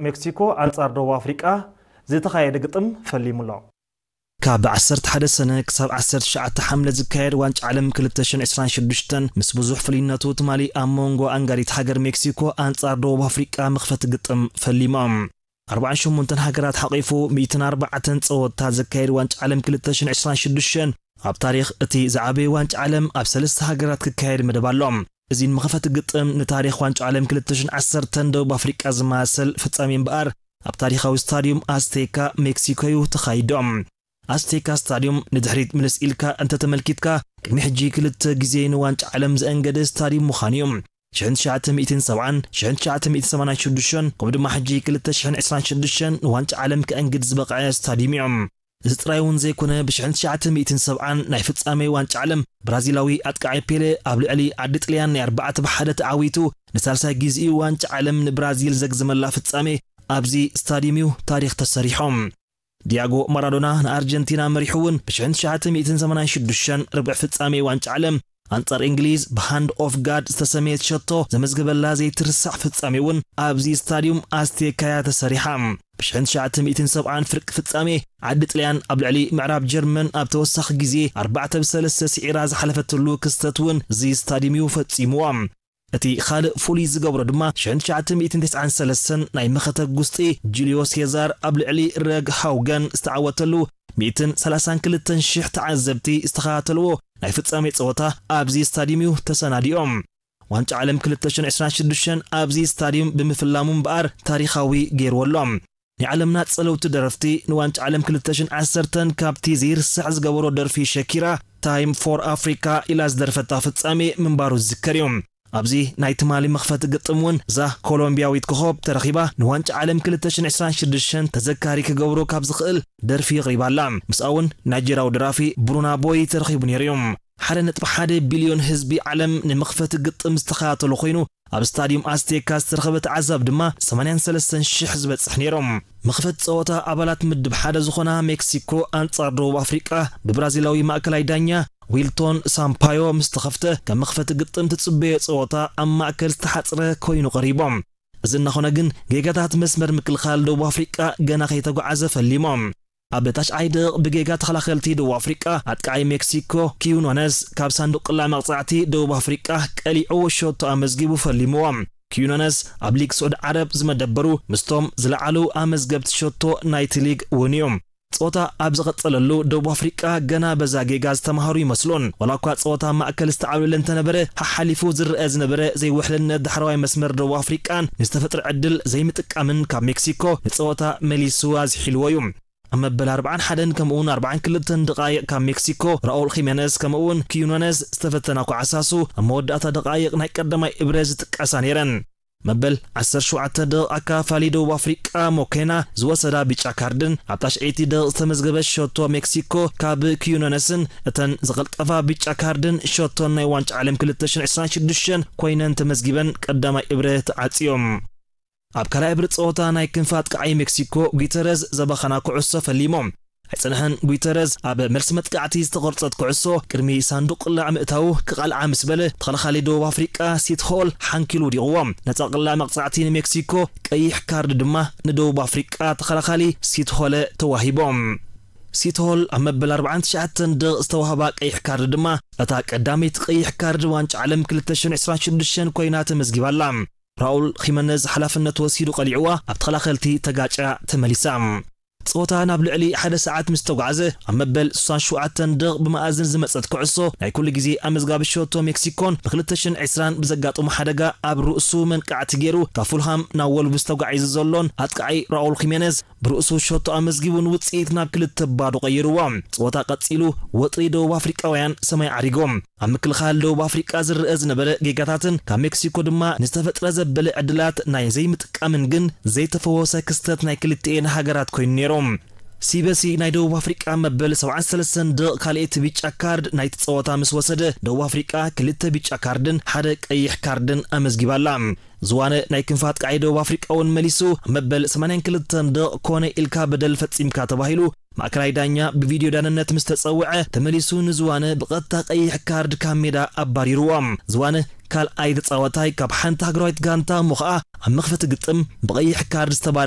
ሜክሲኮ ኣንጻር ደቡብ ኣፍሪቃ ዝተኻየደ ግጥም ፈሊሙ ኣሎ። ካብ ዓሰርተ ሓደ ሰነ ክሳብ ዓሰርተ ትሽዓተ ሓምለ ዝካየድ ዋንጫ ዓለም ክልተ ሽሕን ዕስራን ሽዱሽተን ምስ ብዙሕ ፍልይነቱ ትማሊ ኣብ መንጎ ኣንጋዲት ሃገር ሜክሲኮ ኣንጻር ደቡብ ኣፍሪቃ መኽፈቲ ግጥም ፈሊሞም። ኣርባዓን ሸሞንተን ሃገራት ሓቒፉ ሚእትን ኣርባዕተን ጸወታ ዘካየድ ዋንጫ ዓለም ክልተ ሽሕን ዕስራን ሽዱሽተን ኣብ ታሪኽ እቲ ዝዓበየ ዋንጫ ዓለም ኣብ ሰለስተ ሃገራት ክካየድ መደብ ኣሎ። እዚ ንመኸፈቲ ግጥም ንታሪኽ ዋንጫ ዓለም ክልተ ሽሕን ዓሰርተን ደቡብ ኣፍሪቃ ዝመሳሰል ፍጻሜ እምበኣር ኣብ ታሪኻዊ ስታድዩም ኣስቴካ ሜክሲኮ እዩ ተኻይዶ። ኣስቴካ ስታድዩም ንድሕሪት ምልስ ኢልካ እንተተመልኪትካ ቅድሚ ሕጂ ክልተ ግዜ ንዋንጫ ዓለም ዘእንገደ ስታድዩም ምዃኑ እዩ። ሽሕን ትሽዓተ ሚእትን ሰብዓን፣ ሽሕን ትሽዓተ ሚእትን ሰማንያን ሽዱሽተን ከምኡ ድማ ሕጂ ክልተ ሽሕን ዕስራን ሽዱሽተን ንዋንጫ ዓለም ከእንግድ ዝበቕዐ ስታድዩም እዩ። እዚ ጥራይ እውን ዘይኮነ ብሽሕን ትሽዓተ ሚእትን ሰብዓን ናይ ፍጻሜ ዋንጫ ዓለም ብራዚላዊ ኣጥቃዓይ ፔሌ ኣብ ልዕሊ ዓዲ ጥልያን ናይ ኣርባዕተ ብሓደ ተዓዊቱ ንሳልሳይ ግዜኡ ዋንጫ ዓለም ንብራዚል ዘግዝመላ ፍጻሜ ኣብዚ ስታድዩም እዩ ታሪኽ ተሰሪሖም። ዲያጎ ማራዶና ንኣርጀንቲና መሪሑ እውን ብሽሕን ትሽዓተ ሚእትን ሰማንያን ሽዱሽተን ርብዕ ፍጻሜ ዋንጫ ዓለም ኣንጻር እንግሊዝ ብሃንድ ኦፍ ጋድ ዝተሰመየት ሸቶ ዘመዝገበላ ዘይትርሳዕ ፍጻሜ እውን ኣብዚ ስታድዩም ኣስቴካያ ተሰሪሓ። ብሽሕን ትሽዓተ ሚእትን ሰብዓን ፍርቂ ፍጻሜ ዓዲ ጥልያን ኣብ ልዕሊ ምዕራብ ጀርመን ኣብ ተወሳኺ ግዜ ኣርባዕተ ብሰለስተ ስዒራ ዝሓለፈትሉ ክስተት እውን እዚ ስታድዩም እዩ ፈጺምዎ። እቲ ካልእ ፍሉይ ዝገብሮ ድማ ሽሕን ትሽዓተ ሚእትን ተስዓን ሰለስተን ናይ መኸተ ጉስጢ ጁልዮ ሴዛር ኣብ ልዕሊ ረግ ሃውገን ዝተዓወተሉ ሚእትን ሰላሳን ክልተን ሽሕ ተዓዘብቲ ዝተኸታተልዎ ናይ ፍጻሜ ጸወታ ኣብዚ ስታድዩም እዩ ተሰናዲኦም። ዋንጫ ዓለም ክልተ ሽሕን ዕስራን ሽዱሽተን ኣብዚ ስታድዩም ብምፍላሙ እምበኣር ታሪኻዊ ገይርዎ ኣሎ። ናይ ዓለምና ጸለውቲ ደረፍቲ ንዋንጫ ዓለም ክልተ ሽሕን ዓሰርተን ካብቲ ዘይርሳዕ ዝገበሮ ደርፊ ሸኪራ ታይም ፎር ኣፍሪካ ኢላ ዝደርፈታ ፍጻሜ ምንባሩ ዝዝከር እዩ። ኣብዚ ናይ ትማሊ መኽፈቲ ግጥም እውን እዛ ኮሎምቢያዊት ኮኸብ ተረኺባ ንዋንጫ ዓለም ክልተ ሽሕን ዕስራን ሽዱሽተን ተዘካሪ ክገብሮ ካብ ዝኽእል ደርፊ የቕሪባ ኣላ። ምስኣ እውን ናይጀርያዊ ደራፊ ብሩና ቦይ ተረኺቡ ነይሩ እዩ። ሓደ ነጥቢ ሓደ ቢልዮን ህዝቢ ዓለም ንመኽፈቲ ግጥም ዝተኸታተሎ ኮይኑ ኣብ ስታድዩም ኣስቴካ ዝተረኸበ ተዓዛቢ ድማ ሰማንያን ሰለስተን ሽሕ ዝበጽሕ ነይሮም። መኽፈቲ ጸወታ ኣባላት ምድብ ሓደ ዝኾና ሜክሲኮ ኣንጻር ደቡብ ኣፍሪቃ ብብራዚላዊ ማእከላይ ዳኛ ዊልቶን ሳምፓዮ ምስ ተኸፍተ ከም መኽፈቲ ግጥም ትጽበዮ ጸወታ ኣብ ማእከል ዝተሓጽረ ኮይኑ ቀሪቦም። እዚ እናኾነ ግን ጌጋታት መስመር ምክልኻል ደቡብ ኣፍሪቃ ገና ከይተጓዓዘ ፈሊሞም። ኣብ ታሽዓይ ደቕ ብጌጋ ተኸላኸልቲ ደቡብ ኣፍሪቃ ኣጥቃዓይ ሜክሲኮ ኪዩኖነስ ካብ ሳንዱቕ ቅላ መቕጻዕቲ ደቡብ ኣፍሪቃ ቀሊዑ ሸቶ ኣመዝጊቡ ፈሊምዎ። ኪዩኖነስ ኣብ ሊግ ስዑድ ዓረብ ዝመደበሩ ምስቶም ዝለዓሉ ኣመዝገብቲ ሸቶ ናይቲ ሊግ እውን እዩ። ጸወታ ኣብ ዝቐጸለሉ ደቡብ ኣፍሪቃ ገና በዛ ጌጋ ዝተምሃሩ ይመስሉን። ዋላ እኳ ጸወታ ማእከል ዝተዓብለለ እንተነበረ ሓሓሊፉ ዝረአ ዝነበረ ዘይውሕልነት ዳሕረዋይ መስመር ደቡብ ኣፍሪቃን ንዝተፈጥረ ዕድል ዘይምጥቃምን ካብ ሜክሲኮ ንጸወታ መሊሱ ኣዝሒልዎ እዩ። ኣብ መበል ኣርብዓን ሓደን ከምኡውን ኣርብዓን ክልተን ደቓይቕ ካብ ሜክሲኮ ራኡል ኺሜነስ ከምኡውን ኪዩኖነስ ዝተፈተና ኳዕሳሱ ኣብ መወዳእታ ደቓይቕ ናይ ቀዳማይ እብረ ዝጥቀሳ ነይረን። መበል ዓሰርተ ሸውዓተ ደቕ ኣካፋሊ ደቡብ ኣፍሪቃ ሞኬና ዝወሰዳ ቢጫ ካርድን ኣብ ታሽዐይቲ ደቕ ዝተመዝገበ ሸቶ ሜክሲኮ ካብ ኪዩኖነስን እተን ዝቐልጠፋ ቢጫ ካርድን ሸቶን ናይ ዋንጫ ዓለም ክልተ ሽሕን ዕስራን ሽዱሽተን ኮይነን ተመዝጊበን ቀዳማይ እብረ ተዓጽዮም። ኣብ ካልኣይ እብሪ ጸወታ ናይ ክንፊ ኣጥቃዓይ ሜክሲኮ ጉተረዝ ዘባኸና ኩዕሶ ፈሊሞም። ኣይጸንሐን ጉተረዝ ኣብ መልሲ መጥቃዕቲ ዝተቖርጸት ኩዕሶ ቅድሚ ሳንዱቕ ቅላዕ ምእታዉ ክቓልዓ ምስ በለ ተኸላኻሊ ደቡብ ኣፍሪቃ ሲትሆል ሓንኪሉ ውዲቕዎ። ነጻ ቅላዕ መቕጻዕቲ ንሜክሲኮ ቀይሕ ካርድ ድማ ንደቡብ ኣፍሪቃ ተኸላኻሊ ሲትሆለ ተዋሂቦም። ሲትሆል ኣብ መበል ኣርብዓን ትሽዓተን ደቕ ዝተዋህባ ቀይሕ ካርድ ድማ እታ ቀዳመይቲ ቀይሕ ካርድ ዋንጫ ዓለም ክልተ ሽሕን ዕስራን ሽዱሽተን ኮይና ተመዝጊባላ። ራኡል ኺመነዝ ሓላፍነት ወሲዱ ቀሊዕዋ ኣብ ተኸላኸልቲ ተጋጫ ተመሊሳ። ጸወታ ናብ ልዕሊ ሓደ ሰዓት ምስ ተጓዕዘ ኣብ መበል ስሳን ሸውዓተን ደቕ ብመኣዝን ዝመጸት ኩዕሶ ናይ ኩሉ ግዜ ኣመዝጋቢ ሸቶ ሜክሲኮን ብክልተ ሽሕን ዕስራን ብዘጋጠሞ ሓደጋ ኣብ ርእሱ መንቃዕቲ ገይሩ ካብ ፉልሃም ናብ ወልቭስ ተጓዒዙ ዘሎን ኣጥቃዓይ ራኡል ኺሜነዝ ብርእሱ ሸቶ ኣመዝጊቡን ውጽኢት ናብ ክልተ ባዶ ቀይርዎ። ጸወታ ቀጺሉ ወጥሪ ደቡብ ኣፍሪቃውያን ሰማይ ዓሪጎም። ኣብ ምክልኻል ደቡብ ኣፍሪቃ ዝረአ ዝነበረ ጌጋታትን ካብ ሜክሲኮ ድማ ንዝተፈጥረ ዘበለ ዕድላት ናይ ዘይምጥቃምን ግን ዘይተፈወሰ ክስተት ናይ ክልቲኤን ሃገራት ኮይኑ ነይሮም። ሲበሲ ናይ ደቡብ ኣፍሪቃ መበል ሰብዓን ሰለስተን ደቕ ካልኣይቲ ቢጫ ካርድ ናይቲ ጸወታ ምስ ወሰደ ደቡብ ኣፍሪቃ ክልተ ቢጫ ካርድን ሓደ ቀይሕ ካርድን ኣመዝጊባላ። ዝዋነ ናይ ክንፊ ኣጥቃዓይ ደቡብ ኣፍሪቃ እውን መሊሱ መበል ሰማንያን ክልተን ደቕ ኮነ ኢልካ በደል ፈጺምካ ተባሂሉ ማእከላይ ዳኛ ብቪድዮ ዳንነት ምስ ተጸውዐ ተመሊሱ ንዝዋነ ብቐጥታ ቀይሕ ካርድ ካብ ሜዳ ኣባሪርዎ። ዝዋነ ካልኣይ ተጻዋታይ ካብ ሓንቲ ሃገራዊት ጋንታ እሞ ኸኣ ኣብ መኽፈቲ ግጥም ብቐይሕ ካርድ ዝተባረ